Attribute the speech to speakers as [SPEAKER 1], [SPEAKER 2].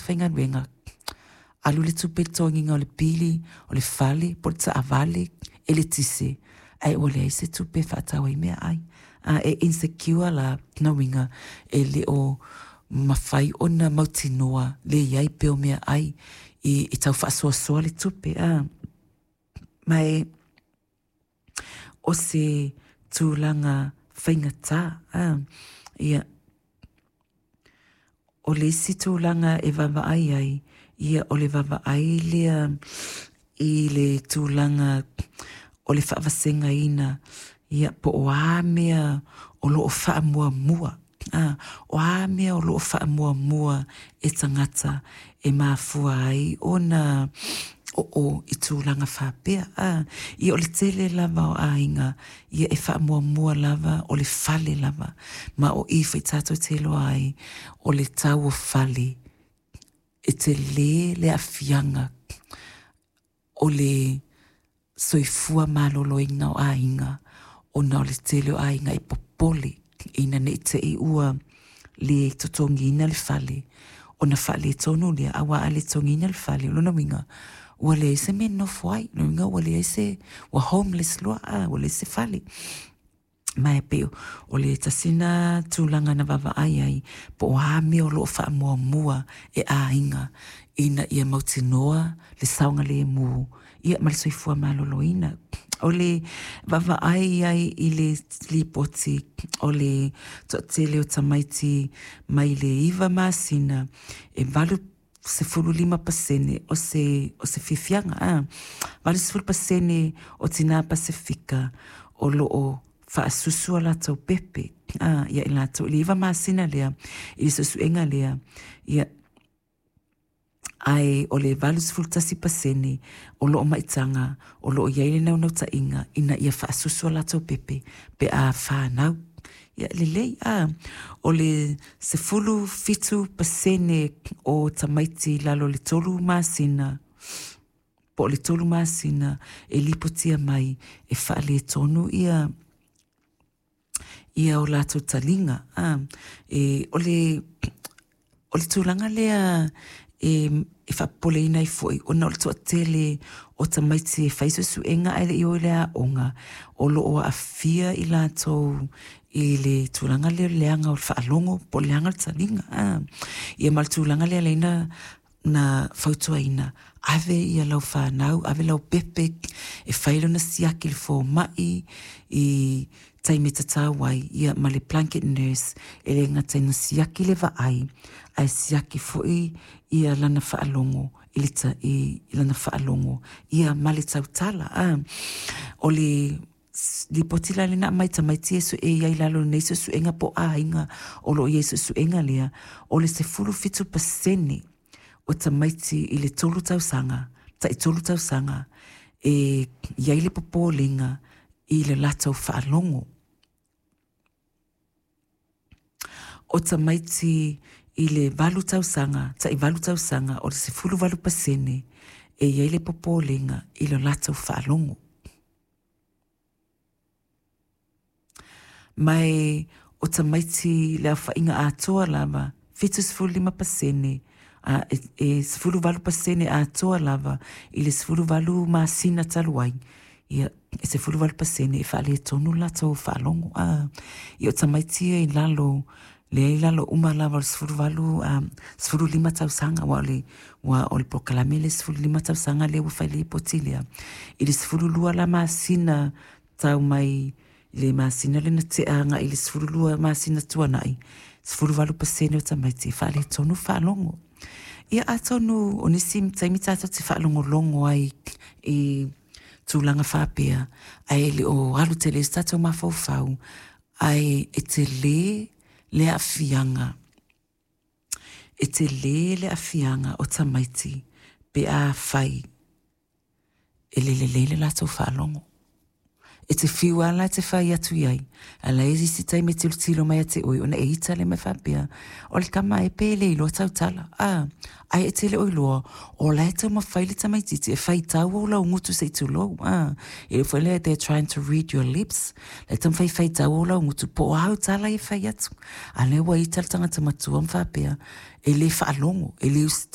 [SPEAKER 1] faigaluega, alu le tupe i le totogiina o le pili o le fale po o le taavale, eletise, ae ua leai se tupe e faatau ai meaai. A e insecure la, lona uiga e le o mafai ona mautinoa le i ai pea o meaai e tau faasoasoa le tupe. Ma e o se tulaga faigata. Ia, o le isi tulaga e vaavaai ai, ia o le vaavaai lea i le tulaga o le faavasegaina, ia po o a mea o lo o faamuamua. O a mea o lo o faamuamua e tagata e mafua ai ona oo i tulaga faapea. Ia o le tele lava o aiga, ia e faamuamua lava o le fale lava, ma o i foi tatou te iloa ai o le tau o fale e tele le aafiaga o le soifua maloloina o aiga ona o le tele o aiga e popole ina ne i te i ua le totogiina le fale ona faaletonu lea, aua a le totogiina le fale, o lona uiga ua leai se mea e nonofo ai, lona uiga ua leai se, ua homeless loa, ua leai se fale. Ma e pei o le tasi lena tulaga na vaavaai ai po o a mea o lo o faamuamua e aiga ina ia mautinoa le saogalemu, ia ma le soifua maloloina. O le vaavaai ai i le lipoti o le toatele o tamaiti mai le 9 masina e 85% o se fiafiaga, 80% o tinā Pasefika o lo o faasusu a latou pepe ia i latou i le 9 masina lea i le suesuega lea, ia, ae o le 81% o lo o maitaga o lo o i ai le naunautaiga ina ia faasusu a latou pepe pe a fanau. Ia lelei, o le 17% o tamaiti i lalo o le 3 masina po o le 3 masina e lipotia mai e faaletonu ia o latou taliga. O le tulaga lea e faapopoleina ai foi ona o le toatele o tamaiti e fai suesuega ae le i o i le aoga o lo o aafia i latou i le tulaga lea o le leaga o le faalogo po o le leaga o le taliga. Ia ma le tulaga lea lea na fautuaina, ave ia lau fanau, ave lau pepe e fai lona siaki i le fomai i taimi tatau ai, ia ma le blanket nurse e le gata ina siaki le vaai, ae siaki foi ia lana faalogo i lana faalogo ia ma le tautala. O le lipoti la lena aumai tamaiti e sue i ai lalo nei suesuega po o aiga o lo o i ai suesuega lea, o le 17% o tamaiti i le 3 tausaga, tai 3 tausaga, e i ai le popolega i le latou faalogo. O tamaiti i le 8 tausaga, tai 8 tausaga, o le 18% e i ai le popolega i le latou faalogo. Ma e o tamaiti le aofaiga atoa lava, 75%, e 18% atoa lava i le 18 masina talu ai, ia, e 18% e faaletonu le latou faalogo. Ia o tamaiti ia i lalo, lea i lalo uma lava o le 18, 15 tausaga, ua o le polokalame le 15 tausaga lea ua fai le lipoti lea. I le 12 la masina tau mai le masina lea na tea agai i le 12 masina tuanai, 18% o tamaiti e faaletonu faalogo. Ia atonu o nisi taimi tatou te faalogologo ai i tulaga faapea, ae le o alu tele se tatou mafaufau, ae e tele le aafiaga. E tele le aafiaga o tamaiti pe a fai e le lelei le latou faalogo. E te fiu lava la e te fai atu i ai, a la e isi taimi e tilotilo mai ia te oe ona e ita lea ma faapea, o le tama e pe le iloa tautala. Ae e te le o iloa, o la e taumafai le tamaitiiti e faitau ou laugutu se i tulou. E le foi lea they're trying to read your lips. La e taumafai e faitau ou laugutu po o a au tala e fai atu. A lea ua ita le tagata matua ma faapea, e le faalogo, e le